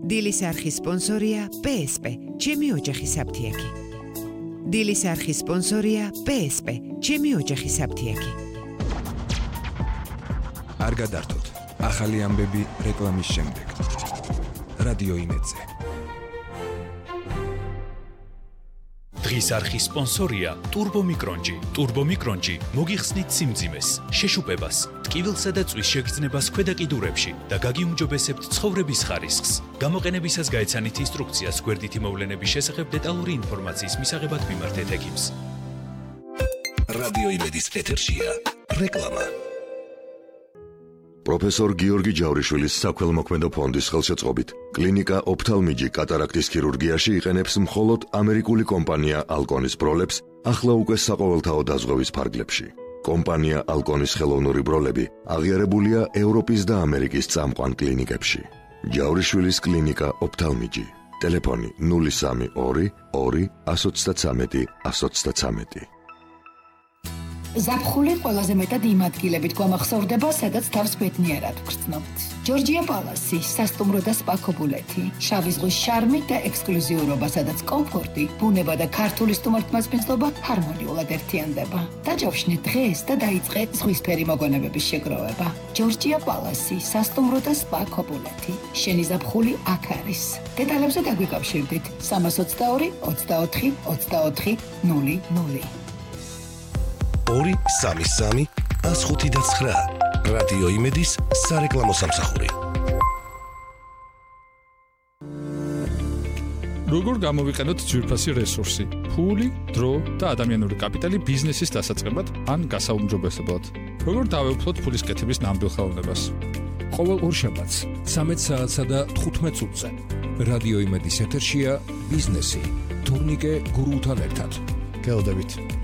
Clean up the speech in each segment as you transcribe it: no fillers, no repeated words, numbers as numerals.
დილის არხის სპონსორია PSP, ჩემი ოჯახის აფთიაქი. დილის არხის სპონსორია PSP, ჩემი ოჯახის აფთიაქი. არ გადართოთ. ახალი ამბები რეკლამის შემდეგ. რადიო იმედზე. დღის არხის სპონსორია ტურბომიკრონჯი. ტურბომიკრონჯი მოგიხსნით სიმძიმეს, შეშუპებას, ტკივილსა და წვის შეგრძნებას ქვედა კიდურებში და გაგიუმჯობესებთ ცხოვრების ხარისხს. გამოყენებისას გაეცანით ინსტრუქციას გვერდითი მოვლენების შესახებ დეტალური ინფორმაციის მისაღებად მიმართეთ ექიმს. რადიო იმედის ეთერშია რეკლამა. პროფესორ გიორგი ჯავრიშვილის საქველმოქმედო ფონდის ხელშეწყობით კლინიკა ოფთალმიჯი კატარაქტის ქირურგიაში იყენებს მხოლოდ ამერიკული კომპანია ალკონის ბროლებს ახლა უკვე საყოველთაო დაზღვევის ფარგლებში. კომპანია ალკონის ხელოვნური ბროლები აღიარებულია ევროპის და ამერიკის წამყვან კლინიკებში. ჯავრიშვილის კლინიკა ოფთალმიჯი. ტელეფონი 032 2 133 133. ზაფხული ყველაზე მეტად იმ ადგილებით გვამახსოვრდება, სადაც თავს ბედნიერად ვგრძნობთ. ჯორჯია პალასი, სასტუმრო და სპა ქობულეთი, შავი ზღვის შარმი და ექსკლუზიურობა, სადაც კომფორტი, ბუნება და ქართული სტუმართმასპინძლობა ჰარმონიულად ერთიანდება. დაჯავშნეთ დღეს და დაიწყე ზღვისფერი მოგონებების შეგროვება. ჯორჯია პალასი, სასტუმრო და სპა ქობულეთი. შენი ზაფხული აქ არის. დეტალებზე დაგვიკავშირდით 322 24 24 00. 233 159 რადიო იმედის სარეკლამო სამსახური. როგორ გამოვიყენოთ ძვირფასი რესურსი, ფული, დრო და ადამიანური კაპიტალი ბიზნესის დასაწყებად ან გასაუმჯობესებლად? როგორ დავეუფლოთ ფულის კეთების ნამდვილ ხელოვნებას? ყოველ ორშაბათს 13 საათსა და 15 წუთზე რადიო იმედის ეთერშია ბიზნესი თურნიკე გურულთან ერთად. გელოდებით.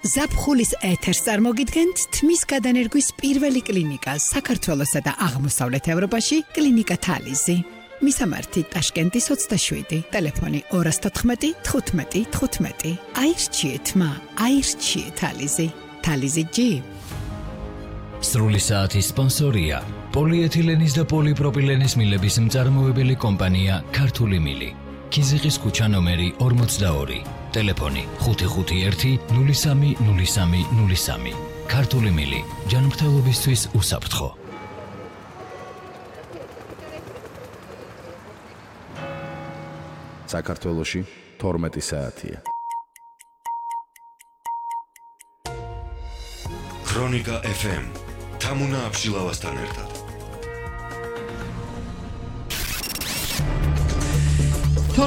ზაფხულის ეთერს წარმოგიდგენთ თმის გადანერგვის პირველი კლინიკა საქართველოსა და აღმოსავლეთ ევროპაში კლინიკა თალიზი. მისამართი ტაშკენტის 27, ტელეფონი 214 15 15. აირჩიეთ მა, აირჩიეთ თალიზი. თალიზი G. სრული საათის სპონსორია პოლიეთილენის და პოლიპროპილენის მილების მწარმოებელი კომპანია ქართული მილი. ქიზიყის ქუჩა ნომერი 42. ტელეფონი 551 03 03 03. ქართული მილი, ჯანმრთელობისთვის უსაფრთხო. საქართველოში 12 საათია. ქრონიკა FM თამუნა აბშილავასთან ერთად.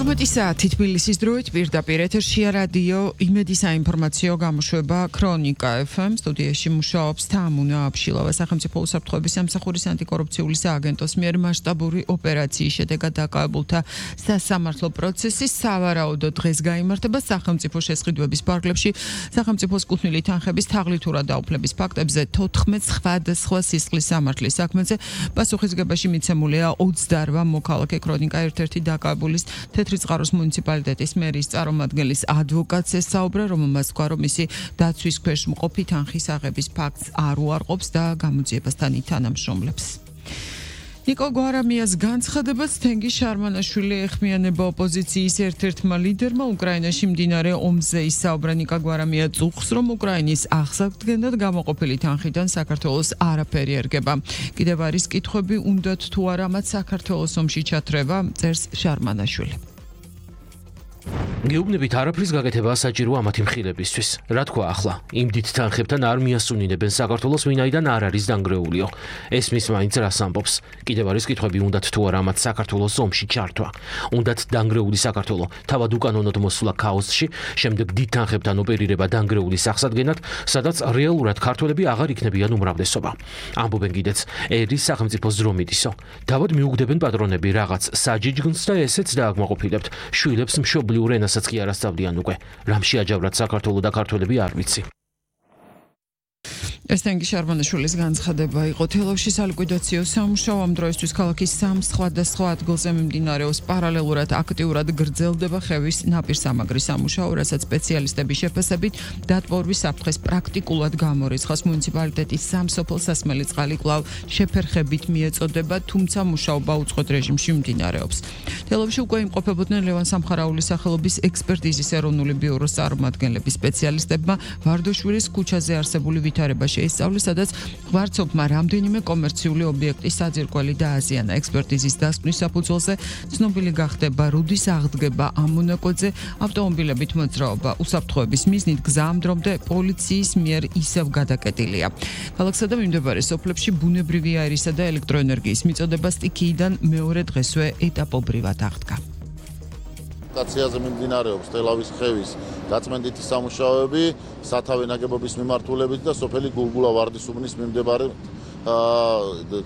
საათი თბილისის დროით პირდაპირ ეთერშია რადიო იმედის საინფორმაციო გამოშვება ქრონიკა FM. სტუდიაში მუშაობს თამუნა აბშილავა. სახელმწიფო უსაფრთხოების სამსახურის ანტიკორუფციული სააგენტოს მიერ მასშტაბური ოპერაციის შედეგად დაკავებულთა სასამართლო პროცესი სავარაუდოდ დღეს გაიმართება სახელმწიფო შესყიდვების ფარგლებში. სახელმწიფოს კუთვნილი თანხების თაღლითურად დაუფლების ფაქტებზე 14 სხვადასხვა სისხლის სამართლის საქმეზე პასუხისგებაში მიცემულია 28 მოქალაქე. ქრონიკა ერთ-ერთი დაკავებულის თეთრი წყაროს მუნიციპალიტეტის მერის წარმომადგენლის ადვოკატს ესაუბრა, რომელმაც თქვა, რომ მისი დაცვის ქვეშ მყოფი თანხის აღების ფაქტს არ უარყოფს და გამოძიებასთან ითანამშრომლებს. ნიკო გვარამიას განცხადებას თენგი შარმანაშვილი ეხმიანება ოპოზიციის ერთ-ერთმა ლიდერმა უკრაინაში მდინარე ომზე. ისაუბრა ნიკო გვარამია წუხს, რომ უკრაინის აღსადგენად გამოყოფილი თანხიდან საქართველოს არაფერი ერგება. კიდევ არის კითხვები, უნდათ თუ არა მათ საქართველოს ომში ჩათრევა, წერს შარმანაშვილი. გეუბნებით არაფრის გაკეთება საჭიროა ამათი მხილებისთვის. რა თქვა ახლა? იმ დიდ თანხებთან არ მიასუნინებენ საქართველოს, ვინაიდან არ არის დანგრეულიო. ესმის მაინც რას ამბობს? კიდევ არის კითხვები, უნდათ თუ არა მათ საქართველოს ომში ჩართვა. უნდათ დანგრეული საქართველო თავად უკანონოდ მოსვლა ქაოსში, შემდეგ დიდ თანხებთან ოპერირება დანგრეული სახსადგენად, სადაც რეალურად ქართველები აღარ იქნებიან უმრავლესობა. ამბობენ კიდეც, ერის სახელმწიფოს ძრომიდისო. თავად მიუგდებენ პატრონები რაღაც საჯიჯგნს და ესეც დააკმაყოფილებთ. შვილებს მშობლიურ ენასაც კი არ ასწავლიან უკვე. რამ შეაჯავრათ საქართველო და ქართველები არ ვიცი. ესტენგი შარბანიშვილის განცხადება იყო. თელავში სალიკვიდაციო სამუშაო ამ დროისთვის ქალაქის სამ სხვადასხვა ადგილზე მიმდინარეობს. პარალელურად აქტიურად გრძელდება ხევის ნაპირსამაგრის სამუშაო, რასაც სპეციალისტების შეფასებით დატბორვის საფრთხეს პრაქტიკულად გამორიცხავს. მუნიციპალიტეტის სამსოფლო სასმელი წყალი კვლავ შეფერხებით მიეწოდება, თუმცა მუშაობა უწყვეტ რეჟიმში მიმდინარეობს. თელავში უკვე იმყოფებოდნენ ლევან სამხარაულის სახელობის ექსპერტიზის ეროვნული ბიუროს წარმომადგენლები. სპეციალისტებმა ვარდოშვილის ქუჩაზე არსებული ვითარება შეისწავლეს, სადაც ღვარცობმა რამდენიმე კომერციული ობიექტის საძირკველი დააზიანა. ექსპერტიზის დასკვნის საფუძველზე ცნობილი გახდება რუდის აღდგება ამ მონაკოდზე, ავტომობილებით მოძრაობა. უსაფრთხოების მიზნით გზა ამ დრომდე პოლიციის მიერ ისევ გადაკეტილია. ქალაქსა და მიმდებარე სოფლებში ბუნებრივი აირისა და ელექტროენერგიის მიწოდება სტიქიიდან მეორე დღესვე ეტაპობრივად აღდგა. სტაციაზე მიმდინარეობს თელავის ხევის გაწმენდითი სამუშაოები, სათავე ნაგებობის მიმართულებით და სოფელი გულგულა ვარდისუბნის მიმდებარე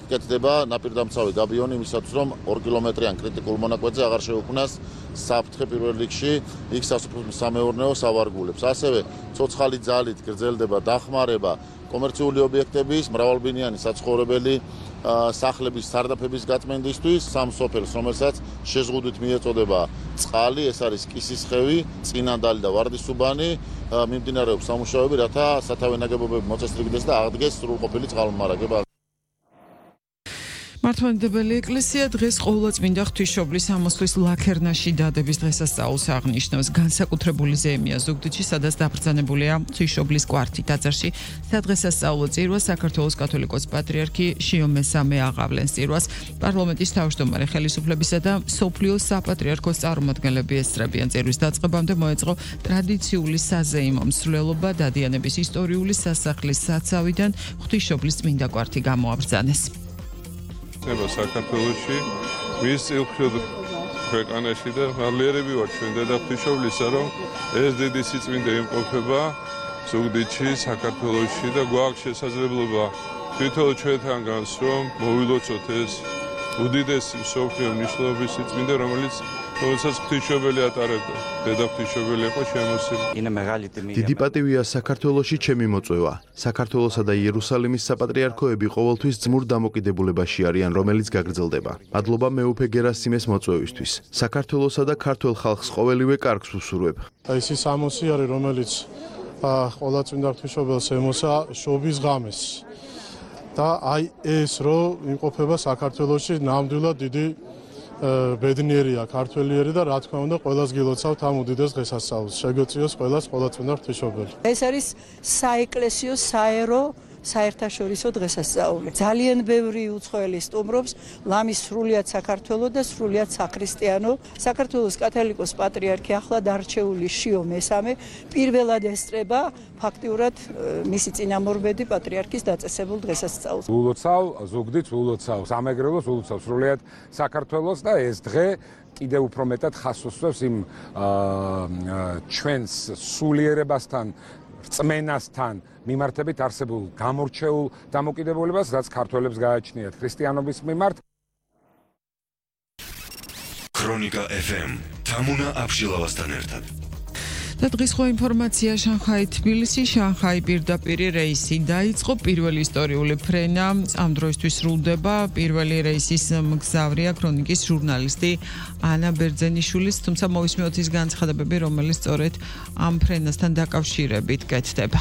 კეთდება ნაპირდამცავი გაბიონი, მისაც რომ 2 კილომეტრიან კრიტიკულ მონაკვეთზე აღარ შეუქმნას საფრთხე პირველ რიგში იქ სასოფლო-სამეურნეო სავარგულებს. ასევე ცოცხალი ძალით გრძელდება დახმარება კომერციული ობიექტების, მრავალბინიანი საცხოვრებელი სახლების სარდაფების გაწმენდისთვის. სამ სოფელს, რომელსაც შეზღუდვით მიეწოდება წყალი, ეს არის კისისხევი, წინანდალი და ვარდისუბანი, მიმდინარეობს სამუშაოები, რათა სათავე ნაგებობები მოწესრიგდეს და აღდგეს სრულყოფილი წყალმომარაგება. მართლმადიდებელი ეკლესია დღეს ყოვლადწმინდა ღვთისმშობლის ამოსვლის ლაქერნაში დადების დღესასწაულს აღნიშნავს. განსაკუთრებული ზეიმია ზუგდიდში, სადაც დაბრძანებულია ღვთისმშობლის კვართი. ტაძარში სადღესასწაულო წირვას საქართველოს კათოლიკოს პატრიარქი შიო მესამე აღავლენს. წირვას პარლამენტის თავმჯდომარე ხელისუფლებისა და მსოფლიოს საპატრიარქოს წარმომადგენლები ესწრებიან. წირვის დაწყებამდე მოეწყო ტრადიციული საზეიმო მსვლელობა, დადიანების ისტორიული სასახლის საცავიდან ღვთისმშობლის წმინდა კვართი გამოაბრძანეს. საქართველოში მის წილქროდ ქვეყანაში და მალიერები ვართ ჩვენ დედა ღვთისმშობლისა, რომ ეს დიდი სიწმინდე იმყოფება ზუგდიდში, საქართველოში და გვაქვს შესაძლებლობა თვითონ ჩვენთან განს რომ მოვილოცოთ ეს უდიდესი მსოფლიო მნიშვნელობის სიწმინდე, რომელსაც ღვთისმშობელი ატარებდა. დედა ღვთისმშობელი იყო შემოსილი. დიდი პატივია საქართველოში ჩემი მოწვევა. საქართველოსა და იერუსალიმის საპატრიარქოები ყოველთვის ძმურ დამოკიდებულებაში არიან, რომელიც გაგრძელდება. მადლობა მეუფე გერასიმეს მოწვევისთვის. საქართველოსა და ქართველ ხალხს ყოველივე კარგს ვუსურვებ. ეს ის ამოსი არის, რომელიც ყოვლადწმინდა ღვთისმშობელს ემოსა შობის ღამეს. და აი ეს რომ იმყოფება საქართველოში ნამდვილად დიდი ბედნიერია ქართველიერი და რა თქმა უნდა ყველას გილოცავთ ამ უდიდეს დღესასწაულს. შეგეწიოს ყველას ყოვლადწმინდა ღვთისმშობელი. ეს არის საეკლესიო საერო საერთაშორისო დღესასწაული. ძალიან ბევრი უცხოელი სტუმრობს ლამის სრულიად საქართველოს და სრულიად საქრისტიანო. საქართველოს კათოლიკოს პატრიარქი ახლად არჩეული შიო მესამე პირველად ესწრება ფაქტიურად მისი წინამორბედი პატრიარქის დაწესებულ დღესასწაულს. ულოცავ ზუგდიდს, ულოცავ სამეგრელოს, ულოცავ სრულიად საქართველოს და ეს დღე კიდევ უფრო მეტად ხაზს უსვამს იმ ჩვენს სულიერებასთან რწმენასთან მიმართებით არსებულ გამორჩეულ დამოკიდებულებას, რაც ქართველებს გააჩნიათ ქრისტიანობის მიმართ. ქრონიკა FM თამუნა აბშილავასთან ერთად. და დღის ხო ინფორმაცია შანხაი თბილისი, შანხაი პირდაპირი რეისი დაიწყო. პირველი ისტორიული ფრენა ამ დროისთვის სრულდება. პირველი რეისის მგზავრია ქრონიკის ჟურნალისტი ანა ბერძენიშვილის, თუმცა მოვისმენთ ის განცხადებები, რომელიც სწორედ ამ ფრენასთან დაკავშირებით კეთდება.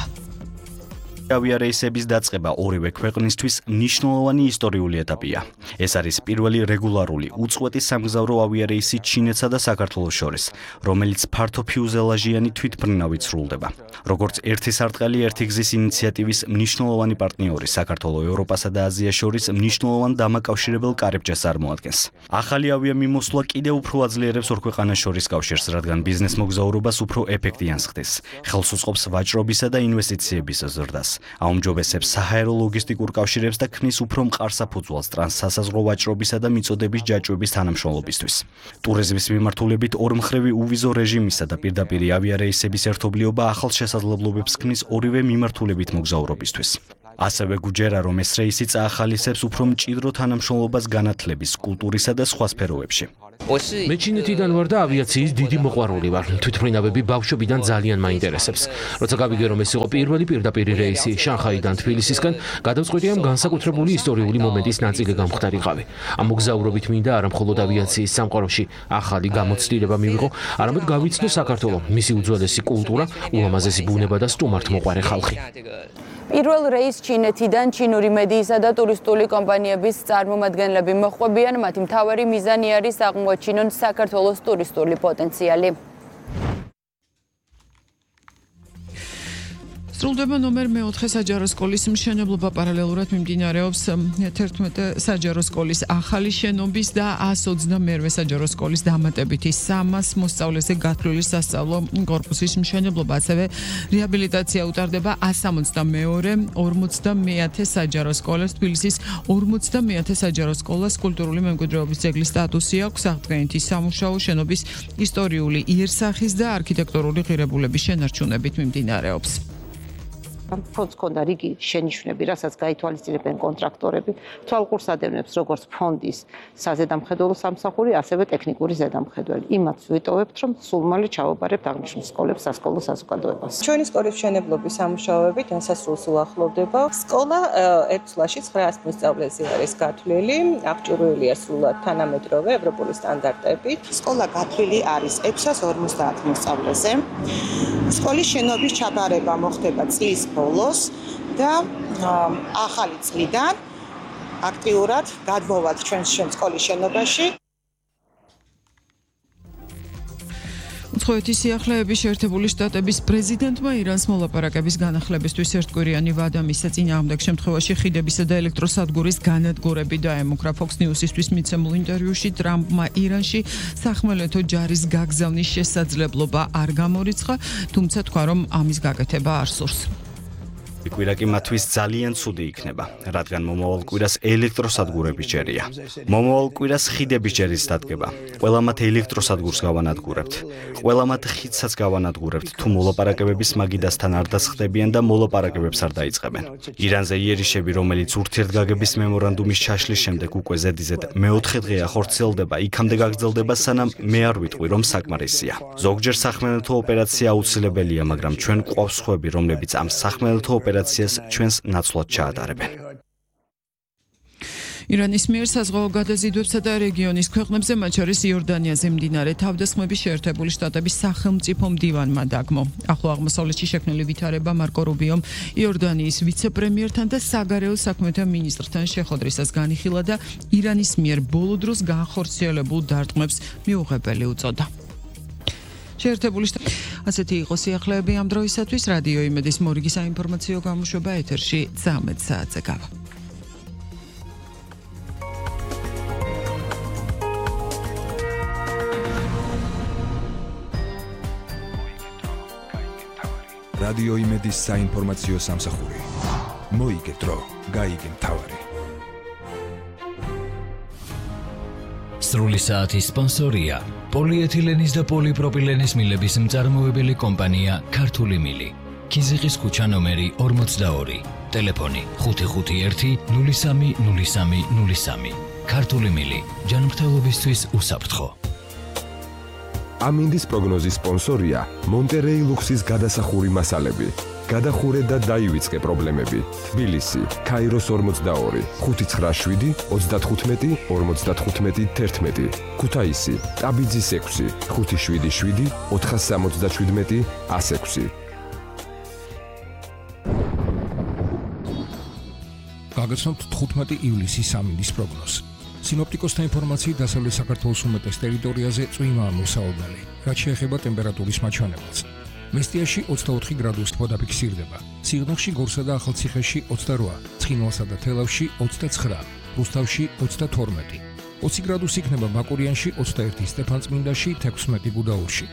ავიარეისების დაწყება ორივე ქვეყნისთვის მნიშვნელოვანი ისტორიული ეტაპია. ეს არის პირველი რეგულარული უწყვეტი სამგზავრო ავიარეისი ჩინეთსა და საქართველოს შორის, რომელიც ფართო ფიუზელაჟიანი თვითმფრინავით სრულდება. როგორც ერთი სარტყელი ერთი გზის ინიციატივის მნიშვნელოვანი პარტნიორი, საქართველო ევროპასა და აზიას შორის მნიშვნელოვან დამაკავშირებელ კარიბჭეს წარმოადგენს. ახალი ავიამიმოსვლა კიდევ უფრო აძლიერებს ორ ქვეყანას შორის კავშირს, რადგან ბიზნეს მოგზაურობას უფრო ეფექტიანს ხდის. ხელს უწყობს ვაჭრობისა და ინვესტიციების ზრდას. აუმჯობესებს საჰაერო ლოგისტიკურ კავშირებს და ქმნის უფრო მყარ საფუძველს ტრანსსასაზღვრო ვაჭრობისა და მიწოდების ჯაჭვების თანამშრომლობისთვის. ტურიზმის მიმართულებით ორმხრივი უვიზო რეჟიმისა და პირდაპირი ავიარეისების ერთობლიობა ახალ შესაძლებლობებს ქმნის ორივე მიმართულებით მოგზაურობისთვის. ასევე გუჯერა, რომ ეს რეისი წაახალისებს უფრო მჭიდრო თანამშრომლობას განათლების, კულტურისა და სხვა სფეროებში. მე ჩინეთიდან ვარ და ავიაციის დიდი მოყვარული ვარ. თვითმფრინავები ბავშვობიდან ძალიან მაინტერესებს. როცა გავიგე რომ ეს იყო პირველი პირდაპირ რეისი შანხაიდან თბილისისკენ, გადავწყვიტე ამ განსაკუთრებული ისტორიული მომენტის ნაწილი გამხდარიყავი. ამ მოგზაურობით მინდა არა მხოლოდ ავიაციის სამყაროში ახალი გამოცდილება მივიღო, არამედ გავიცნო საქართველო, მისი უძველესი კულტურა, ულამაზესი ბუნება და სტუმართმოყვარე ხალხი. პირველ რეისს ჩინეთიდან ჩინური მედიისა და ტურისტული კომპანიების წარმომადგენლები მოჰყვებიან, მათი მთავარი მიზანი არის აღმოაჩინონ საქართველოს ტურისტული პოტენციალი. სრულდება ნომერ 4 საჯარო სკოლის მშენებლობა, პარალელურად მიმდინარეობს 11 საჯარო სკოლის ახალი შენობის და 122 საჯარო სკოლის დამატებითი 300 მოსწავლეზე გათვლილი სასწავლო კორპუსის მშენებლობა, ასევე რეაბილიტაცია utardeba 162 50 საჯარო სკოლას. თბილისის 50 საჯარო სკოლას კულტურული მემკვიდრეობის ძეგლის სტატუსი აქვს. აღდგენითი სამუშაო შენობის ისტორიული იერსახის და არქიტექტურული ღირებულების შენარჩუნებით მიმდინარეობს. ფონდს ჰქონდა რიგი შენიშვნები, რასაც გაითვალისწინებენ კონტრაქტორები, თვალყურს ადევნებს როგორც ფონდის საზედამხედველო სამსახური, ასევე ტექნიკური ზედამხედველი. იმათ ვიტოვებთ, რომ სულ მალე ჩავაბარებთ აღნიშნულ სკოლებს სასკოლო საზოგადოებას. ჩვენი სკოლის მშენებლობის სამუშაოები დასასრულს უახლოვდება. სკოლა ერთ წლში 900 მოსწავლეზე არის გათვლილი, აღჭურვილია სრულად თანამედროვე ევროპული სტანდარტებით. სკოლა გათვლილი არის 650 მოსწავლეზე. სკოლის შენობის ჩაბარება მოხდება წლის ბოლოს და ახალი წლიდან აქტიურად გადმოვართ ჩვენ სკოლის შენობაში. უცხოეთის სიახლეების შეერთებული შტატების პრეზიდენტმა ირანს მოლაპარაკების განახლებისთვის ერთკვირიანი ვადა მისცა. წინააღმდეგ შემთხვევაში ხიდებისა და ელექტროსადგურის განადგურები დაემუქრა. Fox News-ისთვის მიცემულ ინტერვიუში ტრამპმა ირანში სახმელეთო ჯარის გაგზავნის შესაძლებლობა არ გამორიცხა, თუმცა თქვა, რომ ამის გაკეთება არ სურს. კვირა კი მათთვის ძალიან ცუდი იქნება, რადგან მომავალ კვირას ელექტროსადგურების ჯერია. მომავალ კვირას ხიდების ჯერის დადგება. ყველა მათ ელექტროსადგურს გავანადგურებთ. ყველა მათ ხიდსაც გავანადგურებთ, თუ მოლაპარაკებების მაგიდასთან არ დასხდებიან და მოლაპარაკებებს არ დაიწყებენ. ირანზე იერიშები, რომელიც ურთიერთგაგების მემორანდუმის ჩაშლის შემდეგ უკვე ზედიზედ მეოთხე დღეა ხორციელდება, იქამდე გაგრძელდება, სანამ მე არ ვიტყვი, რომ საკმარისია. ზოგჯერ სახმელეთო ოპერაცია აუცილებელია, მაგრამ ჩვენ გვყავს სხვები, რომლებიც ამ სახმელეთო ოპერაციას ჩვენს ნაცვლად ჩაატარებენ. ირანის მიერ საზღვაო გადაზიდვებსა და რეგიონის ქვეყნებზე, მათ შორის იორდანიაზე მიმდინარე თავდასხმების შეერთებული შტატების სახელმწიფო მდივანმა დაგმო. ახლო აღმოსავლეთში შექმნილი ვითარება მარკო რუბიომ იორდანიის ვიცე-პრემიერთან და საგარეო საქმეთა მინისტრთან შეხვედრისას განიხილა და ირანის მიერ ბოლო დროს განხორციელებულ დარტყმებს მიუღებელი უწოდა. შეერთებული შტატები. ასეთი იყო სიახლეები ამ დროისათვის. რადიო იმედის მორიგი საინფორმაციო გამოშვება ეთერში 13 საათზე გავა. რადიო იმედის საინფორმაციო სამსახური. მოიგეთ დრო, გაიგე მთავარი. სრული საათის სპონსორია პოლიეთილენის და პოლიპროპილენის მილების მწარმოებელი კომპანია ქართული მილი. ქიზიყის ქუჩა ნომერი 42, ტელეფონი 551 030303. ქართული მილი, ჯანმრთელობისთვის უსაფრთხო. ამინდის პროგნოზის სპონსორია მონტერეი ლუქსის გადასახური მასალები. გადახურე და დაივიწყე პრობლემები. თბილისი, ქაიროს 42, 597 35 55 11. ქუთაისი, ტაბიძის 6, 577 477 106. გაგაცნობთ 15 ივლისის ამინდის პროგნოზს. სინოპტიკოსთა ინფორმაციით დასავლეთ საქართველოს უმეტეს ტერიტორიაზე წვიმაა მოსაობდელი, რაც შეეხება ტემპერატურის მაჩვენებელს. მესტიაში 24 გრადუსი ფიქსირდება, სიღნაღში, გორსა და ახალციხეში 28, ცხინვალსა და თელავში 29, რუსთავში 32, 20 გრადუსი იქნება ბაკურიანში, 21 სტეფანწმინდაში, 16 გუდაურში.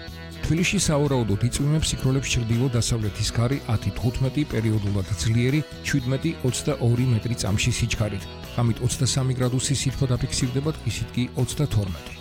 თბილისში სავარაუდოდ იწვიმებს სიქროლებს ჩრდილო-დასავლეთის ქარი 10-15 პერიოდულად ძლიერი 17-22 მეტრი წამში სიჩქარით. ამით 23 გრადუსი სითბო დაფიქსირდება, ტყისით კი 32.